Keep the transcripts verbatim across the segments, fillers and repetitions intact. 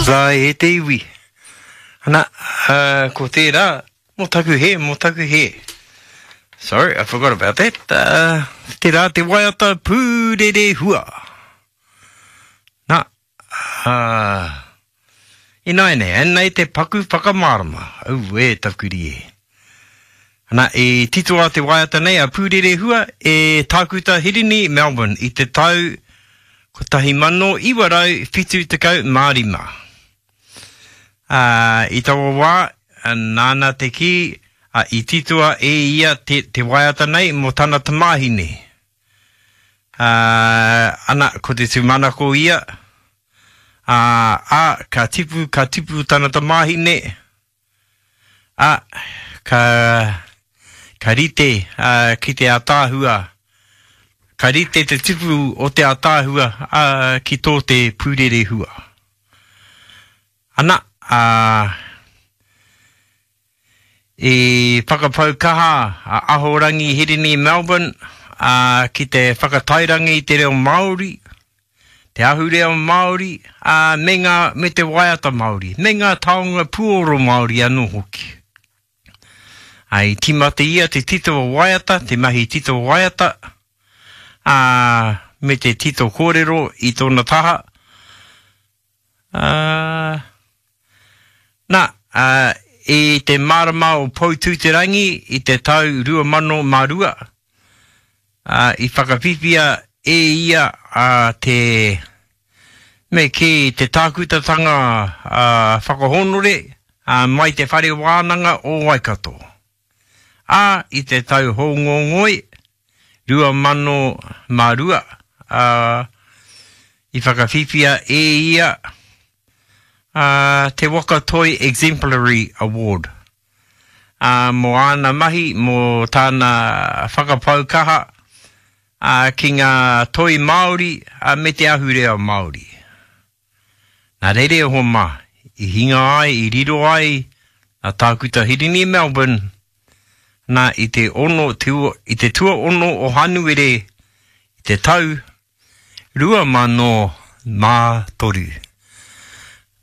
Rā e te iwi. Ana, uh, ko tērā, mō taku hē, mō taku hē. Sorry, I forgot about that. Uh, tērā te waiata Pūrerehua. Nā, uh, ināianei, anei te paku whakamārama. Auē, taku rie. Ana, i titoa te waiata nei a Pūrerehua e Tākuta Hirini Melbourne i te tau kotahi mano iwa rau whitu tekau mā rima. Ā, i taua wā, nāna te kī, ā, i titoa e ia te, te waiata nei mō tana tamāhine. Ā, ana, ko te tūmanako ia, ā, ā, ka tipu, ka tipu tana tamāhine, ā, ka, ka rite, ā, ki te ātaahua, ka rite te tipu o te ātaahua, ā, ki tō te pūrerehua. Ana, ā, i whakapau kaha a Ahorangi Hirini Melbourne, ā, ki te whakatairangi i te reo Māori, te ahurea Māori, ā, me ngā, me te waiata Māori, me ngā taonga puoro Māori anō hoki. Ā, i tīmata ia te tito waiata, te mahi tito waiata, ā, me te tito kōrero i tōna taha. Ā, nā, ā, i te marama o Poutūterangi i te tau rua mano mā rua, ā, i whakawhiwhia e ia a te, me kī, te tākutatanga a, whakahōnore a, mai te whare wānanga o Waikato. Ā, i te tau hōngongoi rua mano mā rua, ā, i whakawhiwhia e ia a, te Waka Toi Exemplary Award. Ā, mō āna mahi, mō tāna whakapau kaha, ā, ki ngā toi Māori, ā, me te ahurea Māori. Nā reira e hoa mā, i hinga ai, i riro ai a Tākuta Hirini Melbourne, nā i te ono, te ua, i te tuaono o Hanuere i te tau rua mano mā toru.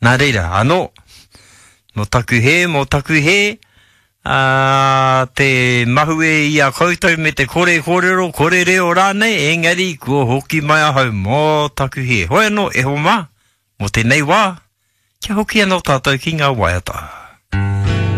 Nā reira, anō, mō taku hē, mō taku hē, ā, te mahue i a koutou me te kore kōrero, kore reo rānei, engari kua hoki mai ahau mō taku hē. Hoi anō, e hoa mā, mō tēnei wā, kia hoki anō tātou ki ngā waiata.